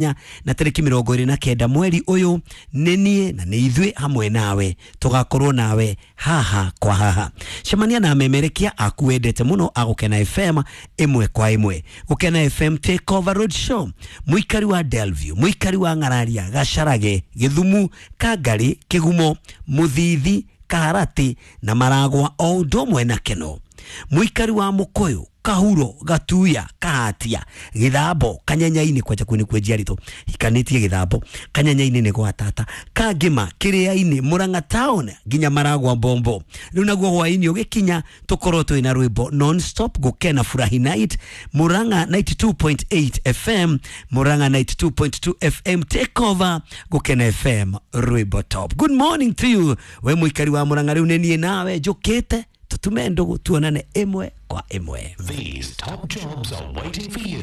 Na tarĩki 29 mweri ũyũ nĩ niĩ na nĩ ithuĩ hamwe nawe tũgakorwo nawe haha kwa haha. Cemania na amemerekia aku wendete mũno a Gũkena FM ĩmwe kwa ĩmwe. Gũkena FM Take Over Road Show, mũikari wa Delview, mũikari wa Ng'araria, Gacarage, Gĩthumu, Kangari, Kĩgumo, Mũthithi, Kaharati na Maragwa o ũndũ ũmwe na Keno, mũikari wa Mũkũyũ, Kahuro, Gatuya, Kahatia, Githambo, Kanyanyaini kwanja kuu nikuo njiarĩtwo hikanĩtie Githambo, Kanyanyaini nĩ gwa tata, Kangĩma, Kĩrĩainĩ, Murang'a town nginya Maragwa Mbombo. Rĩu naguo hwaĩ-inĩ ũgĩkinya tũkorwo twĩna rwĩmbo non stop Gũkena Furahi Night, Murang'a 92.8 FM, Murang'a 92.2 FM Take Over, Gũkena FM rwĩmbo top. Good morning to you we mũikari wa Murang'a, rĩu nĩ niĩ nawe njũkĩte tutume ndugu tuonane ĩmwe kwa ĩmwe. These top jobs are waiting for you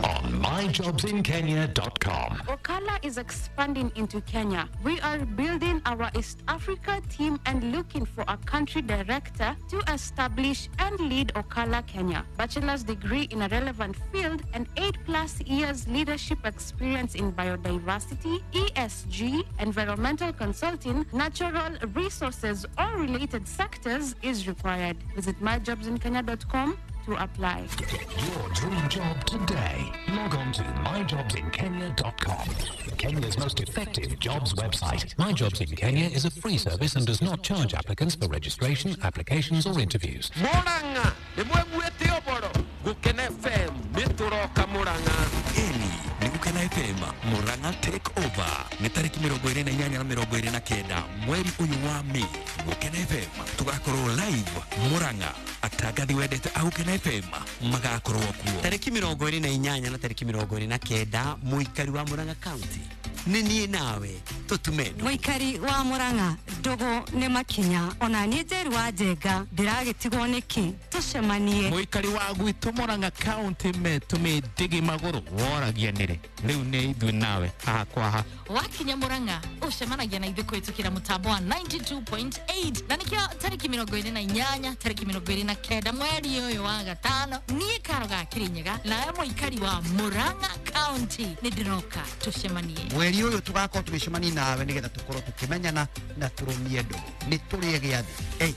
on myjobsinkenya.com. Okala is expanding into Kenya. We are building our East Africa team and looking for a country director to establish and lead Okala Kenya. Bachelor's degree in a relevant field and 8+ years leadership experience in biodiversity, ESG, environmental consulting, natural resources, or related sectors is required. Visit myjobsinkenya.com to apply. Get your dream job today. Log on to myjobsinkenya.com. Kenya's most effective jobs website. My Jobs in Kenya is a free service and does not charge applicants for registration, applications, or interviews. Murang'a nĩ mwĩguĩte ũboro Gũkena FM nĩ tũroka Murang'a. Ĩni nĩ Gũkena FM Murang'a Take Over nĩ tarĩki 28 na 29 mweri ũyũ wa Mei. Gũkena FM tũgakorwo live Murang'a, atangathi wendete a Gũkena FM magakorwo kuo. Tarĩki 28 na tarĩki 29 mũikari wa Murang'a County nĩ niĩ nawe tũtume ndũgũ. Mũikari wa Murang'a, ndũgũ nĩ makinya ona niĩ Njeri wa Njenga ndĩragĩtigwo nĩkĩ tũcemanie. Mũikari wa gwitũ Murang'a County metũmĩ ndigi magũrũ woragia nĩrĩ rĩu nĩ ithuĩ nawe haha kwa haha. Wakinya Murang'a ucemanagia na ithuĩ kũhĩtũkĩra mũtambo wa 92.8 na nĩkĩo tarĩki 28 tarĩki 29 mweri ũyũ wa gatano niĩ Karo ga Kĩrĩnyaga nawe mũikari wa Murang'a County nĩ ndĩroka tũcemanie. Mweri ũyũ tũgakorwo tũgĩcemania nawe nĩgetha tũkorwo tũkĩmenyana na tũrũmie ndũgũ. Nĩ tũrĩe gĩathĩ 8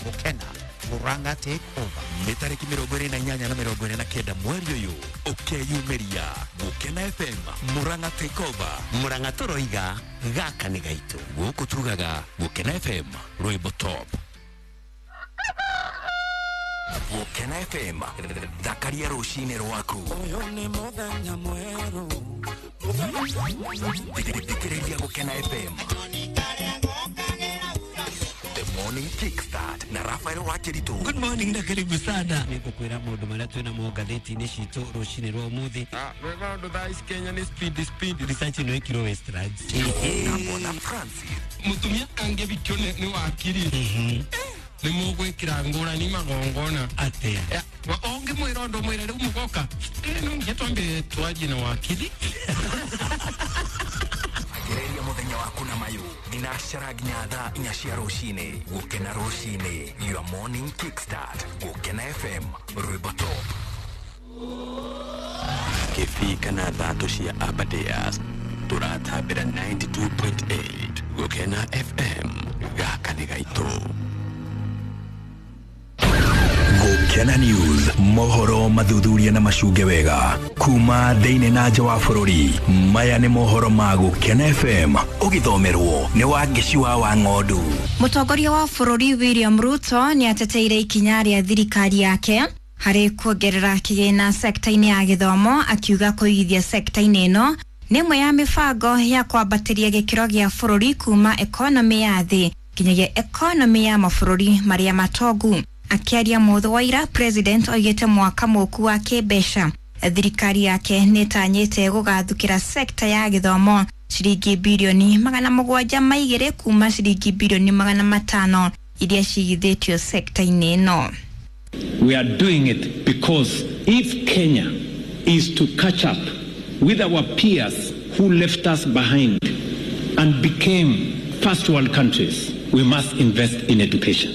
Gũkena Murang'a Take Over. Nĩ tarĩki 28 na 29 mweri ũyũ ũkeyumĩria Gũkena FM Murang'a Take Over. Murang'a tũroiga gaka nĩ gaitũ. Gũkũ tugaga Gũkena FM rwĩmbo top. Gũkena FM thakaria rũcinĩ rwaku. Ũyũ nĩ mũthenya mwerũ. Thikĩrĩria Gũkena FM The Morning Kickstart na Rafael Wakiritu. Good morning na karibu sana. Nĩngũkwĩra maũndũ marĩa twĩ namo ngathĩti-inĩ citũ rũcinĩ rwa ũmũthĩ. Wega ũndũ thaa ici Kenya nĩ speed speed. Research ĩno ĩkirwo Westlands. Na Mwana Francis. Mũtumia angĩthikio nĩ wakiri nĩ mũgwĩkĩra ngũrani magongona. Atĩa? Ũngĩmwĩra ũndũ mwĩre rĩu mũgoka no nginya twambe twarie na wakiri. Gereria mũthenya waku na mayũ thinacara nginya thaa 4 cia rũcinĩ. Gũkena rũcinĩ, your morning kickstart. Gũkena FM rwĩmbo top. Kĩbii kana thatũ cia Aberdares tũratambĩra 92.8 Gũkena FM gaka nĩ gaitũ. Gũkena News, mohoro mathuthuria na macunge wega kuma thĩinĩ na nja wa bũrũri. Maya nĩ mohoro ma Gũkena FM ũgĩthomerwo nĩ Wangeci wa Wang'ondu. Mũtongoria wa bũrũri William Ruto nĩ ateteire ikinya rĩa thirikari yake harĩ kuongerera kĩgĩna sekta-inĩ ya gĩthomo, akiuga kũigithia sekta-inĩ ĩno nĩ ĩmwe ya mĩbango ya kwambatĩria gĩkĩro gĩa bũrũri kuma ekonomĩ ya thĩ nginyagia ekonomĩ ya mabũrũri marĩa matongu. Akiaria mũthĩ wa ira, president oigĩte mwaka mũku wa kĩmbeca thirikari yake nĩ ĩtanyĩte gũgathukĩra sekta ya gĩthomo ciringi birioni 702 kuma ciringi birioni 500 iria cigithĩtio sekta-inĩ ĩno. We are doing it because if Kenya is to catch up with our peers who left us behind and became first world countries, we must invest in education.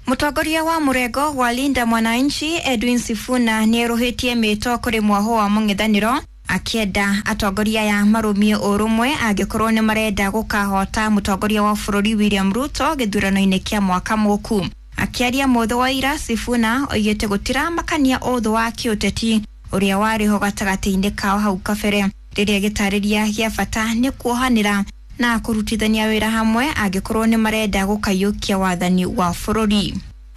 Mũtongoria wa mũrengo wa Linda Mwananchi Edwin Sifuna nĩ erũhĩtie mĩto kũrĩ mwaho wa mũng'ethanĩro. Akĩenda atongoria aya marũmie ũrũmwe angĩkorwo nĩ marenda gũkahota mũtongoria wa bũrũri William Ruto gĩthurano-inĩ kĩa mwaka mũku. Akĩaria mũthĩ wa ira, Sifuna oigĩte gũtiramakania ũthũ wa kĩũteti ũrĩa warĩ ho gatagatĩ-inĩ kao hau kabere, rĩrĩa gĩtarĩria gĩa bata nĩ kuohanĩra na kũrutithania wĩra hamwe angĩkorwo nĩ marenda gũkaiyũkia wathani wa bũrũri.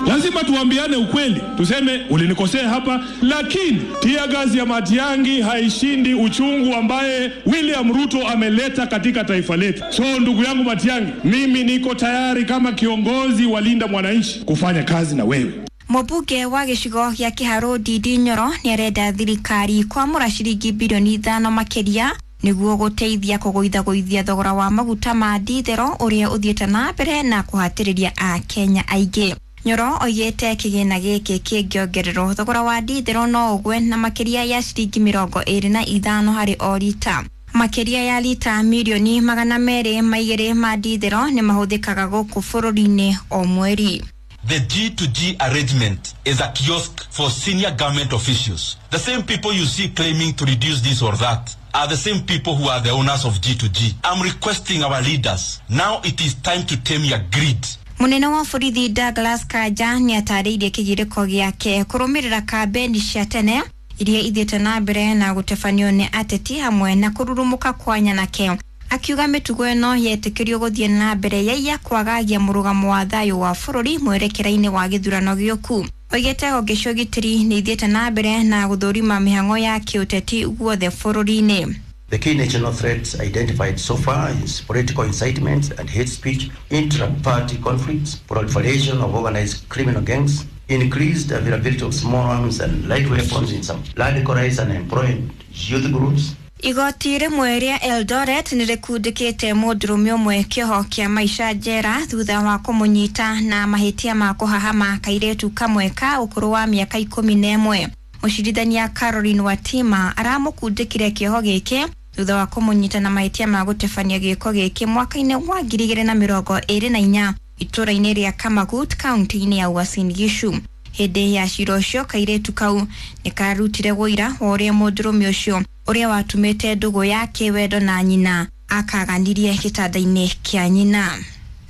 Lazima tuambiane ukweli, tuseme ulinikosea hapa, lakini tear gas ya Matiang'i haishindi uchungu ambaye William Ruto ameleta katika taifa letu. So ndugu yangu Matiang'i, mimi niko tayari kama kiongozi wa Linda Mwananchi kufanya kazi na wewe. Mũmbunge wa gĩcigo gĩa Kĩharũ Ndindi Nyoro nĩarenda thirikari kwamũra ciringi bilioni 5 makĩria nĩguo gũteithia kũgũithagũithia thogora wa maguta ma ndithero ũrĩa ũthiĩte na mbere na kũhatĩrĩria Akenya aingĩ. Nyoro oigĩte kĩgĩna gĩkĩ kĩngĩongererwo thogora wa ndithero no ũgwe na makĩria ya ciringi 25 harĩ o rita. Makĩria ya rita mirioni 202 ma ndithero nĩ mahũthĩkaga gũkũ bũrũri-inĩ o mweri. The G2G arrangement is a kiosk for senior government officials. The same people you see claiming to reduce this or that are the same people who are the owners of G2G. I'm requesting our leaders, now it is time to tame your greed. Munene wa borithi Douglas Kanja nĩ atarĩirie kĩgirĩko gĩake kũrũmĩrĩra kambeni cia tene iria ithiĩte na mbere na gũtebanio nĩ ateti hamwe na kũrurumũka kwa nyanake, akiuga mĩtugo ĩno yetĩkĩrio gũthiĩ na mbere yaiya kwagagia mũrũgamo wa thayũ wa bũrũri mwerekera-inĩ wa gĩthurano gĩũku. Oigĩte honge cia ũgitĩri nĩ ithiĩte na mbere na gũthũrima mĩhang'o ya kĩũteti guothe bũrũri-inĩ. The key national threats identified so far is political incitement and hate speech, intra-party conflicts, proliferation of organized criminal gangs, increased availability of small arms and light weapons in some radicalized and employed youth groups. Igoti rĩmwe rĩa Eldoret nĩ rĩkundĩkĩte mũndũrũme ũmwe kĩoho kĩa maica njera thutha wa kũmũnyita na mahĩtia ma kũhahama kairĩtu kamwe ka ũkũrũ wa mĩaka 11. Mũcirithania Caroline Watima aramũkundĩkire kĩoho gĩkĩ thutha wa kũmũnyita na mahĩtia ma gũtebania gĩko gĩkĩ mwaka-inĩ wa 2024 itũra-inĩ rĩa Kamagut kaunti-inĩ ya Uasin Gishu. Hĩndĩ ya cira ũcio kairĩtu kau nĩ karutire wũira wa ũrĩa mũndũrũme ũcio ũrĩa watumĩte ndũgũ ya kĩwendo na nyina akaganirie gĩtanda-inĩ kĩa nyina.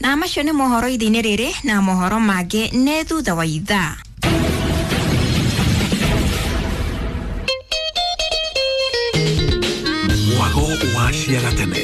Na macio nĩ mohoro ithe-inĩ rĩrĩ na mohoro mangĩ nĩ thutha wa ithaa. Mwago wa ciagatene.